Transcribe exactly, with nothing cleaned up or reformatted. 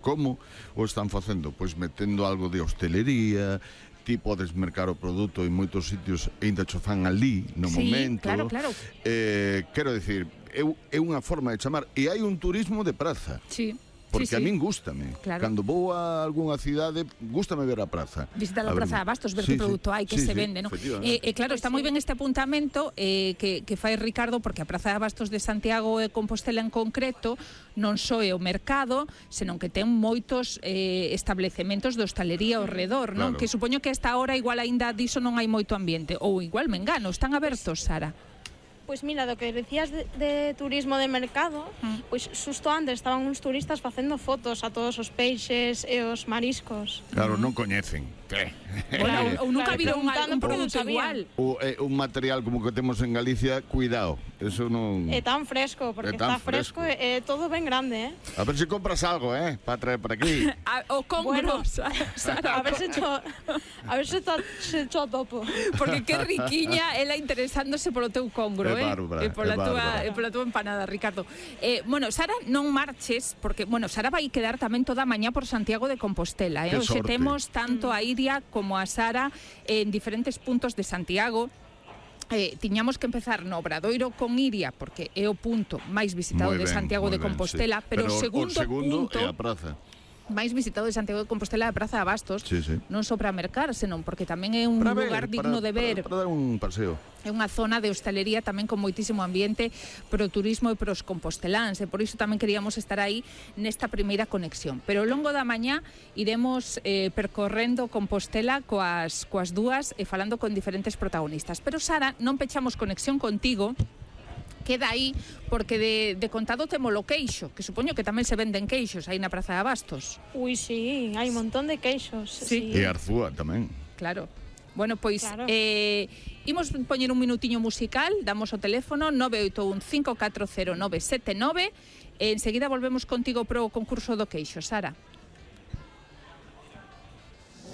Como o están facendo? Pois metendo algo de hostelería, ti podes mercar o produto en moitos sitios e ainda cho fan ali, no sí, momento. claro, claro. Eh, quero dicir, é, é unha forma de chamar. E hai un turismo de praza. Sí. Porque sí, sí. a min gústame. Claro. Cando vou a algunha cidade, gústame ver a praza. Visitar a, a Praza de Abastos, ver sí, que produto hai, que sí, se sí, vende, ¿no? E eh, eh, claro, está moi ben este apuntamento eh, que, que fai Ricardo, porque a Praza de Abastos de Santiago e Compostela en concreto non só é o mercado, senón que ten moitos eh, establecementos de hostalería ao redor, non? Claro. Que supoño que a esta hora igual aínda diso non hai moito ambiente, ou igual me engano, están abertos, Sara? Pois mira, do que decías de, de turismo de mercado, mm. pois xusto antes estaban uns turistas facendo fotos a todos os peixes e os mariscos. Claro, non coñecen. Bueno, ou nunca claro, viron un produto igual. O, eh, un material como que temos en Galicia, cuidado, eso non... É tan fresco, porque tan está fresco e é todo ben grande, eh? A ver se compras algo, eh, para traer para aquí. A, o congro, bueno, Sara, a ver se cho, a ver se, to, se cho topo. Porque que riquiña ela interesándose polo teu congro, eh? Bárbara, e pola tua, e pola tua empanada, Ricardo. Eh, bueno, Sara, non marches, porque, bueno, Sara vai quedar tamén toda a mañá por Santiago de Compostela, eh? Hoxe temos tanto a Iria como a Sara en diferentes puntos de Santiago. Eh, tiñamos que empezar no Obradoiro con Iria, porque é o punto máis visitado ben, de Santiago de Compostela, ben, sí. pero, pero o segundo, o segundo punto é a praza máis visitado de Santiago de Compostela é a Praza de Abastos, sí, sí. non só para mercar, senón porque tamén é un para lugar ver, digno para, de ver. Para, para dar un paseo. É unha zona de hostalería tamén con moitísimo ambiente pro turismo e pros composteláns, e por iso tamén queríamos estar aí nesta primeira conexión. Pero ao longo da mañá iremos eh, percorrendo Compostela coas, coas dúas e falando con diferentes protagonistas. Pero Sara, non pechamos conexión contigo, queda aí, porque de, de contado temos o queixo, que supoño que tamén se venden queixos aí na Praza de Abastos. Ui, sí, hai un montón de queixos. Sí. sí. E Arzúa tamén. Claro. Bueno, pois, claro. eh, imos poñer un minutiño musical, damos o teléfono nove oito un cinco catro cero nove sete nove e enseguida volvemos contigo pro concurso do queixo, Sara.